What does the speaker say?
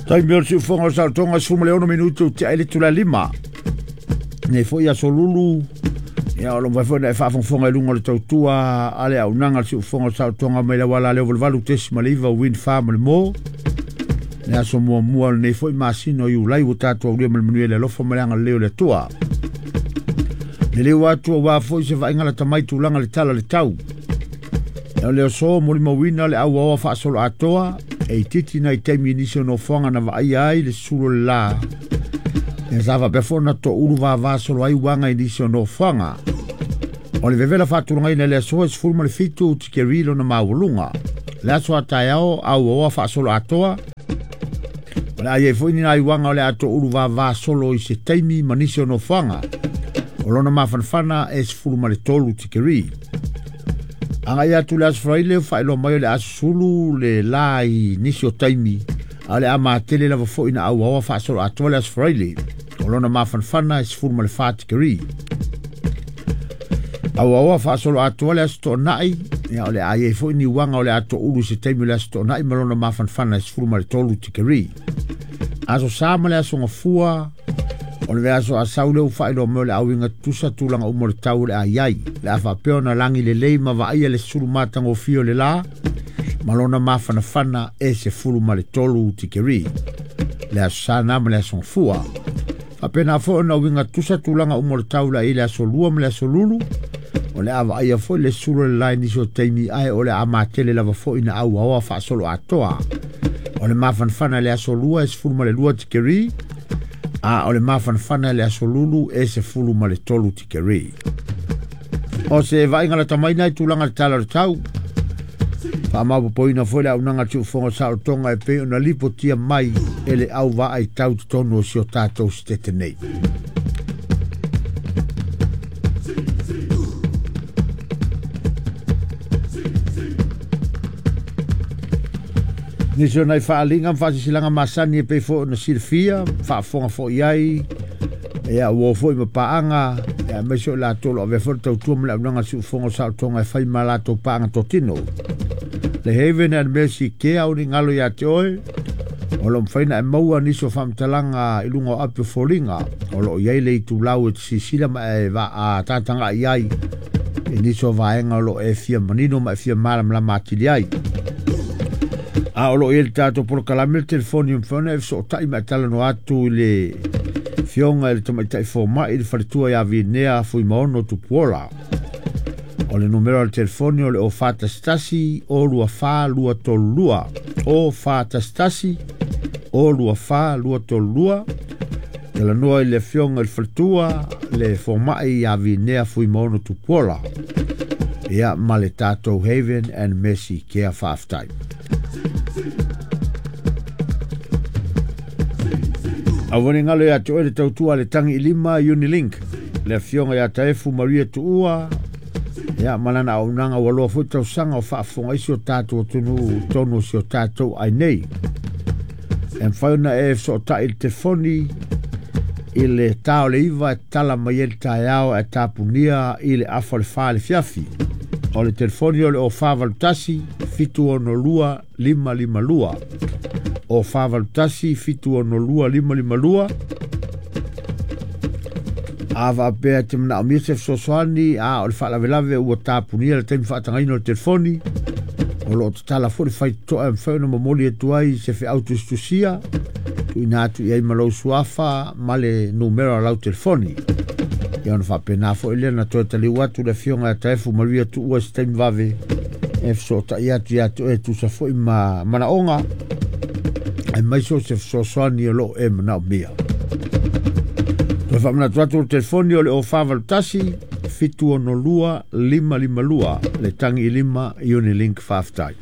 Taimi o le siufoga o le saolotoga 16 minute ua tea ai le itula e 5. Nei foi aso lulu, ia o lo mafai foi ona e faafogafoga i luga o le tautua a le auaunaga a le siufoga o le saolotoga mai le auala leo 88.9 Wind Farm o le Mo. Le aso muamua o lenei foi masina o Iulai ua tatou aulia ma le manuia i le alofa ma le agalelei o le Atua. Liliu atu aua foi se vaaiga lata mai tulaga le tala le tau. O le aso molimauina le auaoa faasoloatoa e itiiti nai taimi i nisi o nofoaga na vaaia ai le susulu o le la. Ia sa faapea foi ona toulu vava solo ai uaga i nisi o nofoaga. O le vevela faatulagaina i le aso e 17 tikeri lona maualuga. Le aso a taeao auaoa faasoloatoa. O le a i ai foi ni nai uaga o le a toulu vava solo i se taimi ma nisi o nofoaga. O lona mafanafana e 13 tikeri. Agai atu le aso Faraile ua faailoa mai o le a susulu le la i nisi o taimi, a o le a matele lava foi na auaoa faasoloatoa le aso Faraile. O lona mafanafana e 14 tikeri. Auaoa faasoloatoa le aso Toonai, ia o le a i ai foi ni uaga o le a toulu i se taimi o le aso Toonai ma lona mafanafana e 13 tikeri. Aso Sa ma le aso Gafua, o le vaiaso a sau lea ua faailoa mai o le auiga tutusa tulaga uma o le tau o le a i ai. Le a faapea ona lagi lelei ma vaaia le sulu matagofie o le la ma lona mafanafana e 13 tikeri. Le aso Sa na ma le aso Gafua. Faapena foi ona uiga tutusa tulaga uma o le tau le a i le aso Lua ma le aso Lulu. O le a vaaia foi le sulu o le la i nisi o taimi ae o le a matele lava foi na auaoa faasoloatoa. O le mafanafana i le aso Lua e 12 tikeri, a o le mafanafana i le aso Lulu e 13 tikeri. O se vaaiga lata mai nei tulaga le tala o le tau. Faamaopoopoina foi le auaunaga a le Siufofoga o Saolotoga e pei ona lipotia mai e le au vaai tau totonu o si o tatou sitete nei. Nisi o nai faaaliga ma faasisilaga masani e pei foi ona silafia, faafofoga foi i ai, ia ua o foi ma paaga, ia aemaise o i latou o lo o avea foi le tautua ma le auaunaga a le Siufofoga o Saolotoga e fai ma latou paaga totino. Le Haven and Mercy Care o ni galo ia te oe, o lo o mafai ona e maua nisi o faamatalaga i luga o api o foliga, o lo o i ai le itulau e te silasila ma e tataga'i ai i nisi o vaega o lo o e fia manino ma e fia malamalama atili ai. A o lo o i ai le tatou polokalame le telefoni e mafai ona e fesootai ma e talanoa atu i le Afioga i le Tamaitai Fomai i le faletua ia Vinea Fuimaono Tupuola. O le numera o le telefoni o le 0411 024 232 0411 024 232. Talanoa i le Afioga i le faletua le Fomai ia Vinea Fuimaono Tupuola. Ia ma le tatou Haven and Mercy Care faafetai. Aua ne galo ia te oe le tautua a le tangi i lima Unilink, le afioga ia Taefu Maria Tuua, ia ma lana auaunaga ua loa foi tausaga o faafofoga ai si o tatou atunuu tonu o si o tatou ai nei. E mafai ona e fesootai i le telefoni i le ta o le 9 e tala mai ai le taeao ae tapunia i le afa o le 4 i le fiafi. O le telefoni o le 0481 762 552. O 481 762 552. A faapea e te manaomia se fesoasoani, a o le faalavelave ua tapunia le taimi faatagaina o le telefoni, o lo o tatala foi le faitotoa e mafai ona momoli atu ai se feau tusitusia, tuuina atu i ai ma lou suafa ma le numera o lau telefoni. Ia ona faapena foi lea na toe taliu atu le afioga ia Taefu Maria Tuua i se taimi vave e fesootai atu ia te oe e tusa foi ma manaoga aemaise o se fesoasoani o lo o e manaomia. Toe faamanatu atu o le telefoni o le 0481 762 552 le tangi i lima Unilink faafetai.